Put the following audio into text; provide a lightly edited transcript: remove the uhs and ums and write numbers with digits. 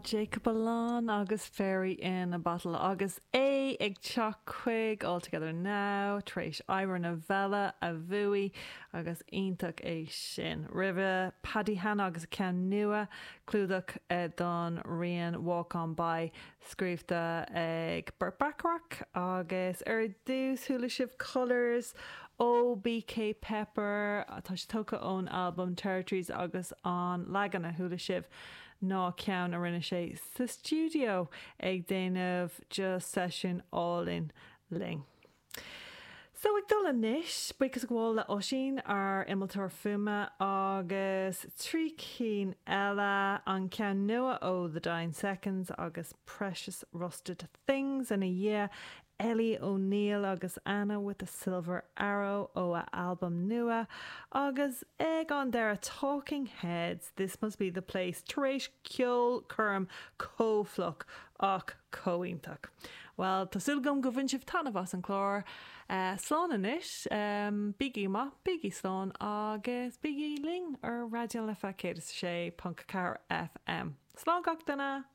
Jacob Alon agus Fairy in a Bottle agus é ag teacht chuig All Together Now tar éis Obair na Bhfeile a bhuaigh agus iontach é sin. Roimhe Paddy Hanna agus a ceann nua, clúdach don rian Walk On By scríobhta ag Burt Bacharach agus ar dtús chuala sibh Colours ó BK Pepper, tá sé tógtha ón albam Territories agus an leagan a chuala sibh ná ceann a rinne sé sa stiúideo ag déanamh just seisiún álainn linn. So ag dul anois, buíochas a ghabháil le Oisín, ár innealtóir fuaime, agus 3 cinn eile, an ceann nua ó The Dying Seconds agus Precious Rusted Things ina dhiaidh, Ellie O'Neill agus Anna with a Silver Arrow ó a albam nua, agus ag an deireadh Talking Heads, This Must Be The Place tar éis ceolchoirm chomh fliuch ach chomh iontach. Bhuel, tá súil agam go bhain sibh taitneamh as an chlár. Slán anois. Bígí go maith, bígí slán agus bígí linn ar Raidió na Life 106.4 FM. Slán gach duine!